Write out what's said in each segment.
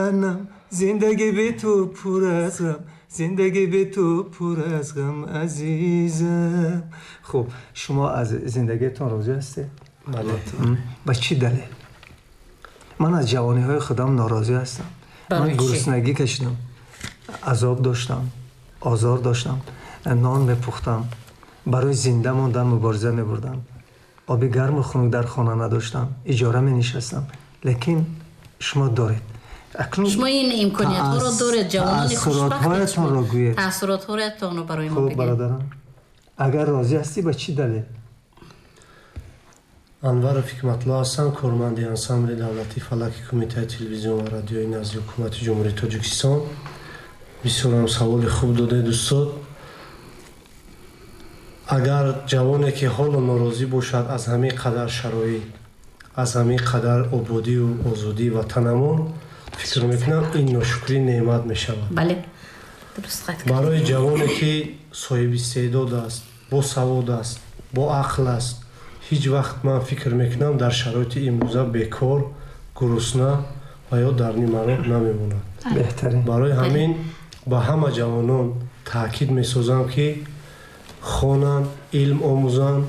ҷаҳаннам, зиндагӣ бе ту пур аз ғам, зиндагӣ бе ту пур аз ғам, азизам. Хуб, шумо аз зиндагиатон розӣ ҳастед? Бале. Ба чӣ далел? Ман аз ҷавониҳои худам норозӣ ҳастам. Ман гуруснагӣ кашидам, азоб доштам, озор доштам, нон мепухтам, барои зинда мондан мубориза мебурдам, оби гарму хунук дар хона надоштам, иҷора менишастам. Лекин шумо доред. Шумо ин имкониятҳоро доред, ҷавонони хушбахтатонро гӯед. Таассуротҳоятонро барои мо бигӯед. Хуб, бародарам, агар розӣ ҳастӣ, ба чӣ далел? Анваров Ҳикматулло ҳастам, корманди ансамбли давлатии фалаки Кумитаи телевизион ва радиои назди Ҳукумати Ҷумҳурии Тоҷикистон. Бисёрам саволи хуб додед, устод. Агар ҷавоне ки ҳоло норозӣ бошад аз ҳамин қадар шароит, аз ҳамин қадар ободию озодии ватанамон, фикр мекунам, ин ношукрии неъмат мешавад. Бале, дуруст қайд кардед. Барои ҷавоне ки соҳиби истеъдод аст, босавод аст, боақл аст, ҳеҷ вақт ман фикр мекунам, дар шароити имрӯза бекор, гурусна ва ё дар нимароҳ намемонад. Беҳтарин. Барои ҳамин ба ҳама ҷавонон таъкид месозам, ки хонанд, илм омӯзанд,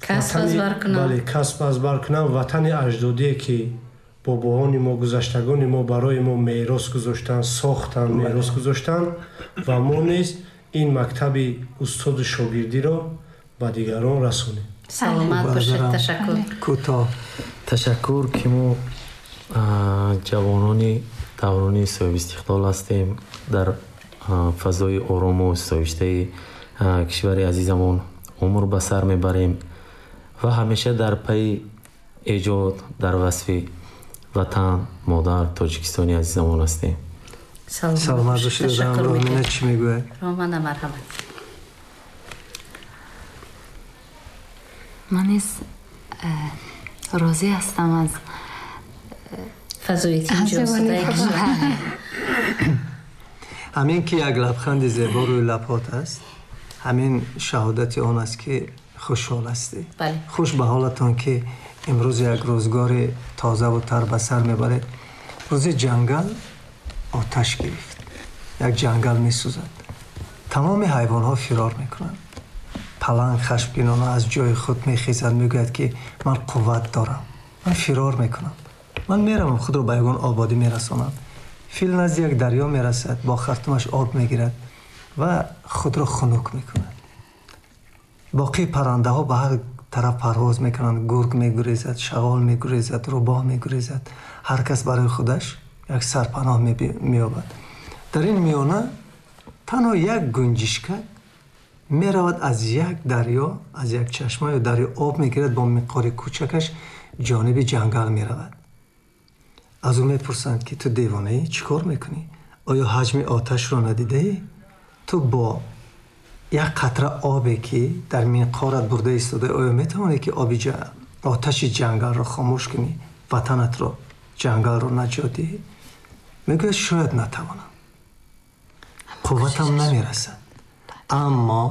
касб аз бар кунанд. Бале, касб аз бар кунанд. Ватани аҷдодие ки бобоҳони мо, гузаштагони мо барои мо мерос гузоштанд, сохтанд, мерос гузоштанд ва мо низ ин мактаби устоду шогирдиро ба дигарон расонем. Саломат бошед, ташаккур. Кӯтоҳ. Ташаккур, ки мо ҷавонони даврони соҳибистиқлол ҳастем, дар фазои орому соҳибиштаи кишвари азизамон умр ба сар мебарем ва ҳамеша дар пайи эҷод дар васфи ватан, модар, Тоҷикистони азизамон ҳастем. Саломат бошед. Ромина чӣ мегӯяд? Романа, марҳамат. Ман низ розӣ ҳастам аз фазои тинҷу осудаи кишвар. Ҳамин ки як лабханди зебо рӯи лабҳот аст, ҳамин шаҳодати он аст, ки хушҳол ҳастӣ. Хуш ба ҳолатон, ки имрӯз як рӯзгори тозаву тар ба сар мебаред. Рӯзи ҷангал оташ гирифт, як ҷангал месӯзад, тамоми ҳайвонҳо фирор мекунанд. Паланг хашмгинона аз ҷои худ мехезад, мегӯяд, ки ман қувват дорам, ман фирор мекунам, ман меравам, худро ба ягон ободӣ мерасонам. Фил назди як дарё мерасад, бо хартумаш об мегирад ва худро хунук мекунад. Боқии паррандаҳо ба ҳар тараф парвоз мекунанд. Гург мегурезад, шағол мегурезад, рӯбоҳ мегурезад. Ҳар кас барои худаш як сарпаноҳ меёбад. Дар ин миёна танҳо як гунҷишкак меравад, аз як дарё, аз як чашма ё дарё об мегирад, бо миқори кӯчакаш ҷониби ҷангал меравад. Аз ӯ мепурсанд, ки ту девонаӣ, чӣ кор мекунӣ? Оё ҳаҷми оташро надидаӣ? Ту бо як қатра обе, ки дар минқорат бурда истодаӣ, оё метавонӣ, ки оби оташи ҷангалро хомӯш кунӣ, ватанатро, ҷангалро наҷот диҳӣ? Мегӯяд, шояд натавонам, қувватам намерасад, аммо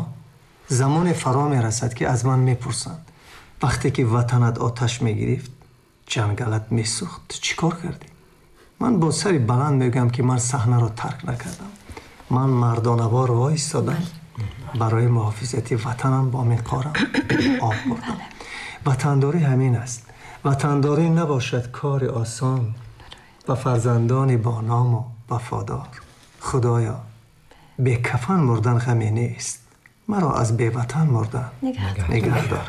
замоне фаро мерасад, ки аз ман мепурсанд, вақте ки ватанат оташ мегирифт, ҷангалат месӯхт, ту чӣ кор кардӣ? Ман бо сари баланд мегӯям, ки ман саҳнаро тарк накардам, ман мардонавор воистодам, барои муҳофизати ватанам бо миқорам об бурдам. Ватандорӣ ҳамин аст. Ватандорӣ набошад кори осон ба фарзандони боному вафодор. Худоё, бекафан мурдан ғаме нест, маро аз беватан мурдан нигаҳдор.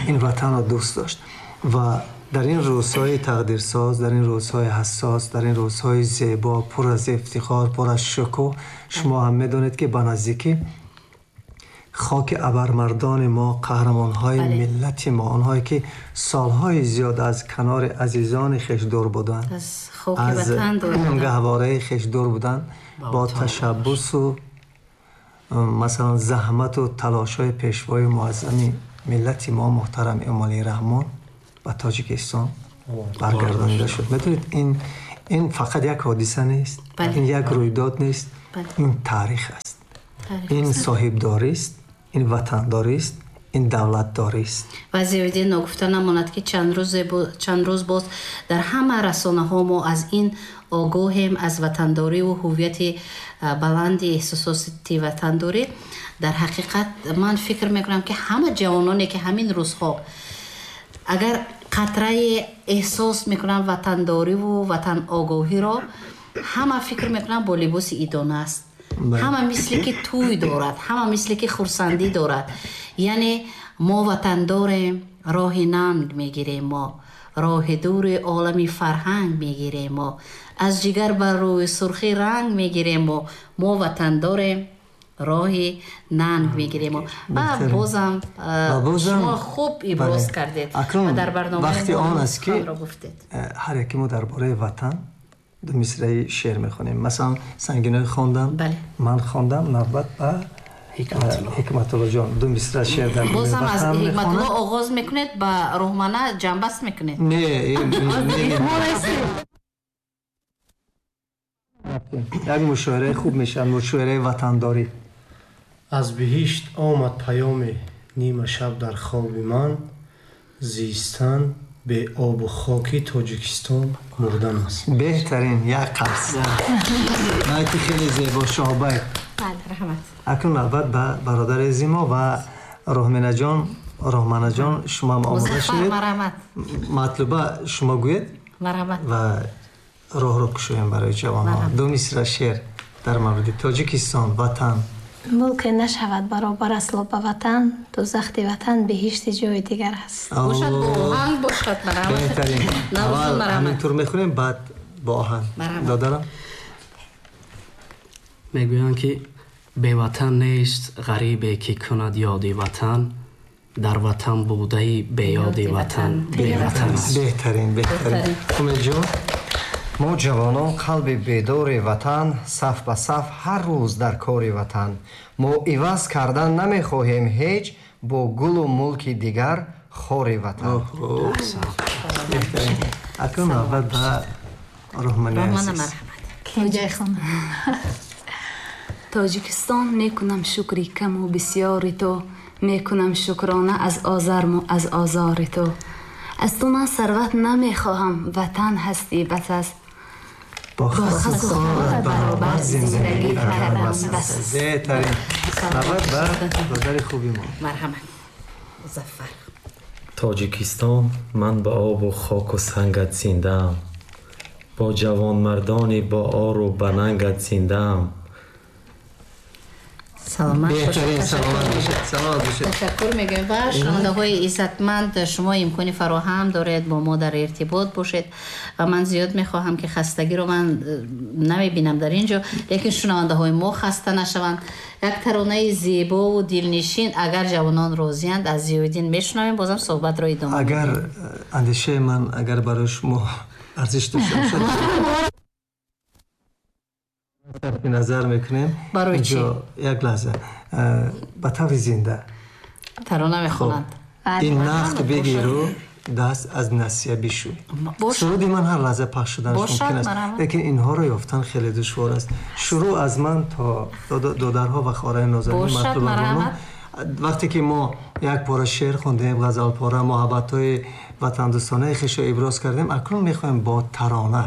Ин ватанро дӯст дошт ва дар ин рӯзҳои тақдирсоз, дар ин рӯзҳои ҳассос, дар ин рӯзҳои зебо, пур аз ифтихор, пур аз шукӯҳ, шумо ҳам медонед, ки ба наздикӣ хоки абармардони мо, қаҳрамонҳои миллати мо, онҳое ки солҳои зиёд аз канори азизони хеш дур буданд, аз гаҳвораи хеш дур буданд, бо ташаббусу масалан заҳмату талошҳои пешвои муаззами миллати мо муҳтарам Эмомалӣ Раҳмон ба Тоҷикистон баргардонида шуд. Медонед, ин фақат як ҳодиса нест, ин як рӯйдод нест, ин таърих аст, ин соҳибдорист, ин ватандорист, ин давлатдорист. Ва зиёдӣ ногуфта намонад, ки чанд рӯз боз дар ҳама расонаҳо мо аз ин огоҳем, аз ватандорӣ ва ҳувияти баланди эҳсосоти ватандорӣ. Дар ҳақиқат ман фикр мекунам, ки ҳама ҷавононе, ки ҳамин рӯзҳо агар қатрае эҳсос мекунанд ватандориву ватаногоҳиро, ҳама фикр мекунанд бо либоси идона аст. Ҳама мисле ки тӯй дорад, ҳама мисле ки хурсандӣ дорад. Яъне мо ватан дорем, роҳи нанг мегирем мо, роҳи дури олами фарҳанг мегирем мо, аз ҷигар бар рӯи сурхӣ ранг мегирем мо, мо ватан дорем, роҳи нанг мегирем. Ва бозам шумо хуб иброз кардед ва дар барномаи вақти он аст, ки ҳар яке мо дар бораи ватан ду мисраи шеър мехонем. Масалан, Сангинои хондам, ман хондам, навбат ба Ҳикматуллоҷон ду мисра шеър дар бозам аз Ҳикматулло оғоз мекунед, ба Рӯҳмана ҷамъбаст мекунед? Не, як мушоираи хуб мешавад, мушоираи ватандорӣ. Аз биҳишт омад паёме нима шаб дар хоби ман, зистан бе обу хоки Тоҷикистон мурдан аст. Беҳтарин, як қабс. Найти хеле зебо, шоҳбайт. Акнун навбат ба бародари зимо ва Роҳминаҷон. Роҳманаҷон, шумо ҳам омода шудед. Матлуба, шумо гӯед ва роҳро кушоем барои ҷавонҳо. Ду мисра шеър дар мавриди Тоҷикистон, ватан. Мулке нашавад баробар асло ба ватан, дӯзахти ватан биҳишти ҷои дигар аст. Бошад бо оҳанг, бошад. Беҳтарин. Аввал ҳамин тур мехонем, баъд бо оҳанг. Додарам, мегӯянд, ки беватан нест ғарибе, ки кунад ёди ватан, дар ватан будаи беёди ватан беватан аст. Беҳтарин, беҳтарин. Умедҷон. Мо ҷавонон қалби бедори ватан, саф ба саф ҳар рӯз дар кори ватан. Мо иваз кардан намехоҳем ҳеҷ бо гулу мулки дигар хори ватан. Акнун навбат ба Роҳмани азиз. Тоҷикистон, мекунам шукри каму бисёри ту, мекунам шукрона аз озарму аз озори ту. Аз ту ман сарват намехоҳам, ватан ҳастӣ бас аст. Бо хасу хорат баробар зиндагӣ кардам бас. Беҳтарин. Навбат ба додари хуби мо. Марҳамат, Музаффар. Тоҷикистон, ман ба обу хоку сангат зиндаам, бо ҷавонмардони бо ору ба нангат зиндаам. Саломат. Беҳтарин, саломат бошед, саломат бошед. Ташаккур мегӯем. Ва шунавандаҳои иззатманд, шумо имкони фароҳам доред бо мо дар иртибот бошед ва ман зиёд мехоҳам, ки хастагиро ман намебинам дар ин ҷо, лекин шунавандаҳои мо хаста нашаванд. Як таронаи зебову дилнишин, агар ҷавонон розиянд, аз Зиёиддин мешунавем, бозам суҳбатро идома. Агар андешаи ман агар барои шумо арзиш дошта бошад, сарфи назар мекунем. Барои чӣ? Як лаҳза, ба таври зинда тарона мехонанд. Ин нақд бигиру даст аз насия бишӯй. Суруди ман ҳар лаҳза пахш шуданаш мумкин аст, лекин инҳоро ёфтан хеле душвор аст. Шурӯъ аз ман то додарҳо ва хоҳарони нозанин Матлубабону. Вақте ки мо як пора шеър хондем, ғазалпора, муҳаббатҳои ватандӯстонаи хешро иброз кардем, акнун мехоҳем бо тарона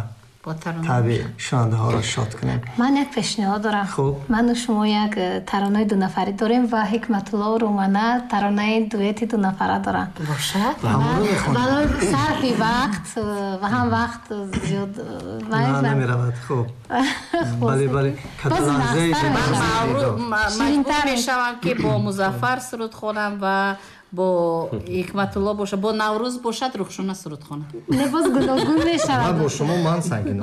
табиъ шунавандаҳоро шод кунем. Ман як пешниҳод дорам. Ману шумо як таронаи дунафарӣ дорем ва Ҳикматулло Румана таронаи дуэти дунафара доранд. Бошад. Барои сарфи вақт ва ҳам вақт зиёд намеравад. Хуб, бале, бале. Маҷбур мешавам, ки бо Музаффар суруд хонам ва бо Ҳикматулло бошад, бо Наврӯз бошад, Рухшона суруд хонам. Не, боз гуногун мешавад. Бо шумо ман, Сангино.